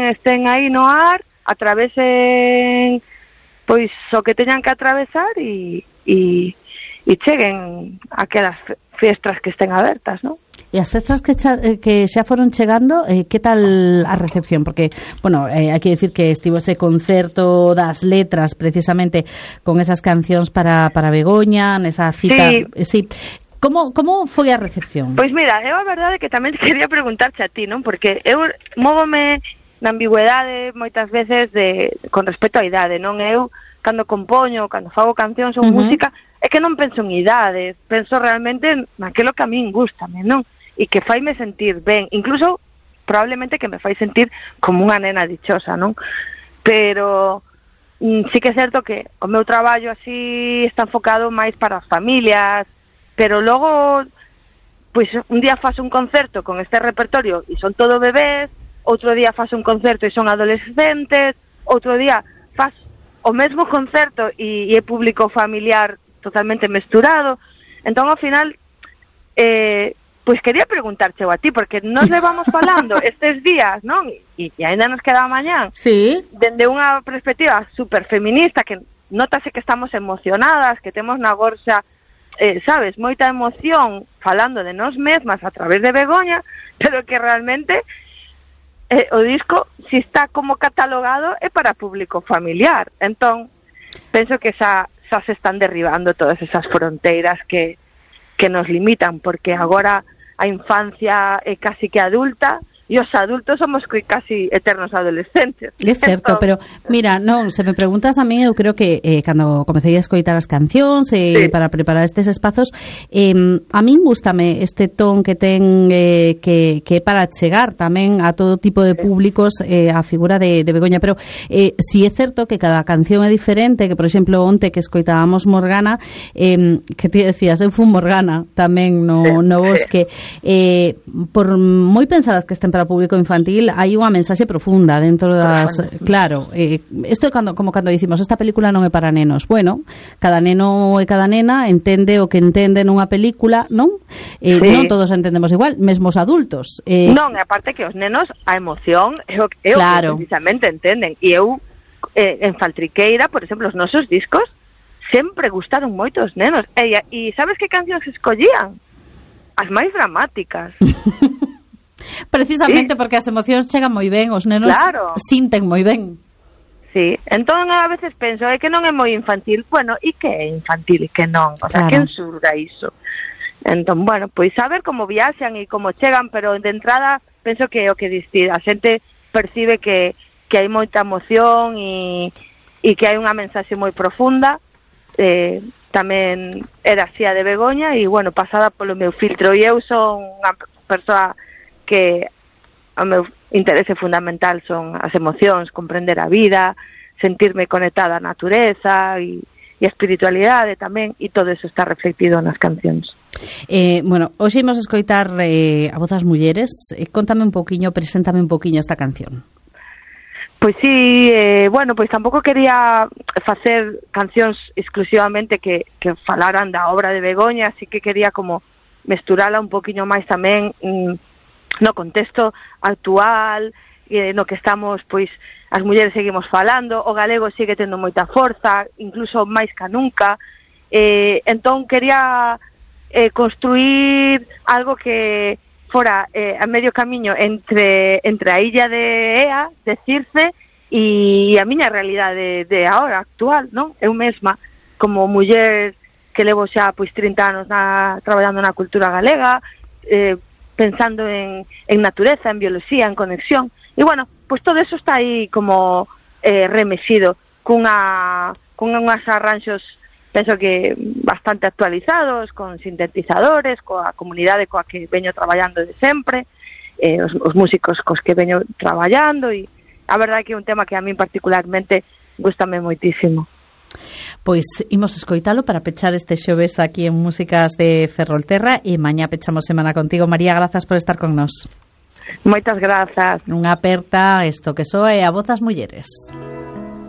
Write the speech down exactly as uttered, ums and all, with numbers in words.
estén aí no ar, atravesen pois o que teñan que atravesar e, e, e cheguen aquelas fiestras que estén abertas, non? E as festas que, cha, que xa foron chegando, eh, que tal a recepción? Porque, bueno, eh, hai que decir que estivo ese concerto das letras precisamente con esas cancións para, para Begoña, nesa cita... Sí. Eh, sí. Como, como foi a recepción? Pois mira, eu a verdade que tamén quería preguntarte a ti, non? Porque eu móvome na ambigüedade moitas veces de con respecto á idade, non? Eu, cando compoño, cando fago cancións ou uh-huh. música, é que non penso en idades, penso realmente naquilo que a min gustame, non? E que faime sentir ben, incluso probablemente que me fai sentir como unha nena dichosa, non? Pero mm, sí que é certo que o meu traballo así está enfocado máis para as familias, pero logo pois un día faço un concerto con este repertorio e son todo bebés, outro día faço un concerto e son adolescentes, outro día faço o mesmo concerto e, e é público familiar totalmente mesturado. Entón, ao final, eh, pois quería preguntarche a ti, porque nos levamos falando estes días, non? E, e ainda nos queda mañán. Sí. Dende unha perspectiva super feminista, que notase que estamos emocionadas, que temos na gorxa, eh, sabes, moita emoción falando de nós mesmas a través de Begoña, pero que realmente eh, o disco, si está como catalogado, é para público familiar. Entón, penso que xa, xa se están derribando todas esas fronteiras que, que nos limitan, porque agora a infancia é casi que adulta e os adultos somos casi eternos adolescentes. É certo, entón, pero mira, non, se me preguntas a mí, eu creo que eh, cando comecei a escoitar as cancións eh, sí. para preparar estes espazos, eh, a min gústame este ton que ten eh, que, que para chegar tamén a todo tipo de públicos eh, a figura de, de Begoña, pero eh, si é certo que cada canción é diferente, que por exemplo onte que escoitábamos Morgana, eh, que ti decías, eu fui Morgana tamén no, sí. no bosque, eh, por moi pensadas que estén para o público infantil, hai unha mensaxe profunda dentro das... Claro, eh, isto é cando, como cando dicimos, esta película non é para nenos. Bueno, cada neno e cada nena entende o que entende nunha película, non? Eh, sí. Non todos entendemos igual, mesmo os adultos. Eh, non, e aparte que os nenos, a emoción é o, é o claro. que precisamente entenden. E eu, eh, en Faltriqueira, por exemplo, os nosos discos sempre gustaron moito os nenos. E, e sabes que cancións escollían? As máis dramáticas. Precisamente sí. porque as emocións chegan moi ben, os nenos claro. sinten moi ben. Sí, entón a veces penso, é que non é moi infantil. Bueno, e que é infantil e que non? O sea, claro. quen surga iso? Entón, bueno, pois saber como viaxan e como chegan, pero de entrada penso que é o que diste, a xente percibe que, que hai moita emoción e, e que hai unha mensaxe moi profunda. Eh, tamén era así a de Begoña e, bueno, pasada polo meu filtro, e eu son unha persoa que o meu interese fundamental son as emocións, comprender a vida, sentirme conectada á natureza e, e a espiritualidade tamén, e todo eso está reflectido nas cancións. Eh, bueno, hoxe imos escoitar eh, a voz das mulleres. Eh, contame un poquinho, preséntame un poquinho esta canción. Pois sí, eh, bueno, pois tampouco quería facer cancións exclusivamente que, que falaran da obra de Begoña, así que quería como mesturala un poquinho máis tamén mm, no contexto actual, eh, no que estamos, pois, as mulleres seguimos falando, o galego sigue tendo moita forza, incluso máis que nunca, eh, entón quería eh, construir algo que fora eh, a medio camiño entre, entre a illa de Ea, de Circe, e a miña realidade de, de agora, actual, non? Eu mesma, como muller que levo xa, pois, trinta anos na, traballando na cultura galega, eh, pensando en, en natureza, en biología, en conexión. E, bueno, pues todo eso está aí como eh, remexido cunha, con unhas arranxos, penso que bastante actualizados, con sintetizadores, coa comunidade coa que veño traballando de sempre, eh, os, os músicos cos que veño traballando, e a verdade é que é un tema que a min particularmente gustame moitísimo. Pois imos escoitalo para pechar este xoves aquí en Músicas de Ferrolterra, e mañá pechamos semana contigo. María, grazas por estar con nós. Moitas grazas. Unha aperta isto que soe a voz das mulleres.